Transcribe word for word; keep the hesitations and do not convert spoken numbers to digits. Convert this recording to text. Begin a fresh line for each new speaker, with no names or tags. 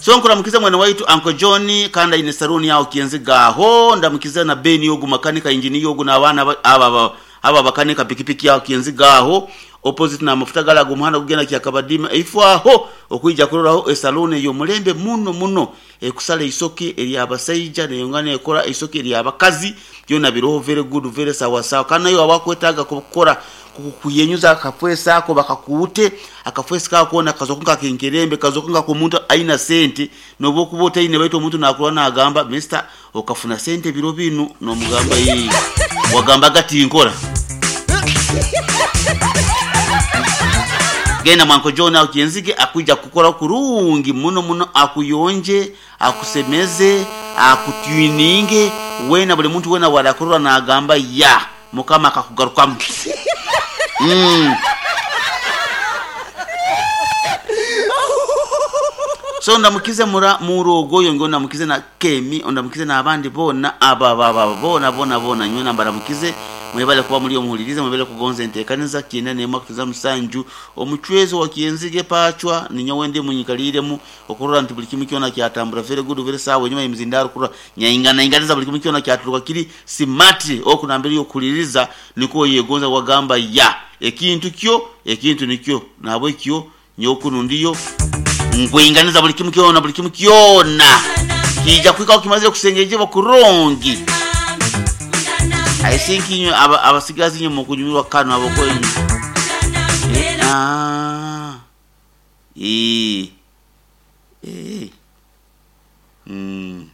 So nkuramukize mwene waitu Uncle John kandi aine saluni yaho Kienzigaho, ndamukize na Ben yogu makanika engineer yogu n'abaana aba aba aba bakanika pikipiki yaho Kienzigaho opposite na mafuta gala gumuhanda kugenda kyakabadima ifwaho okuija kuroraho esaluni y'omulembe muno muno ekusala isoke eryabasaija neyongana ekora isoke eryabakazi byona biroho very good very sawa sawa. Kandi nayo abakwetaaga kukora kuyenyuza akafwesa ako bakakuute akafwesa kako kona kazokunga kenkerembe kazokunga ku muntu aina sente nobokuba otaine baitu omuntu nakurwa nagamba mister okafuna sente biro binu nomugamba yi wagamba gati nkora genda mwanko John au Kienzige akuja kukora kurungi muno muno, akuyonje akusemeze akutwininge wena buli muntu wena warakurura nagamba ya mukama akakugarukamu. Mm. So ndamukize mura murogo yo ngo ndamukize na Kemi, ndamukize na abandi bona aba baba bona bona bona nywe nambaramukize mwebale kuba muri omuhulirize, mwebale kugonza enteekaniza kyenda n'emu kutuza musanju omuchwezo wa Kienzige pachwa ninyo wende munyikaliremu okurora nti buli kimu kyona kyatambura very good very sawa nyuma y'emizindaro kurora nyaingana inganiza buli kimu kyona kyaturuka kiri smart okunambiri okuliriza niko yegonza wagamba ya ekintu kyo ekintu nikyo nabwe kyo nyokuno ndiyo ngwinganiza buli kimu kyona buli kimu kyona kija kwika okimaze kusengeje bakurongi. I think inyo abasigazi inyo mukunyumirwa kano abokwenyu. Eh, ah. Eh. Eh. Mm.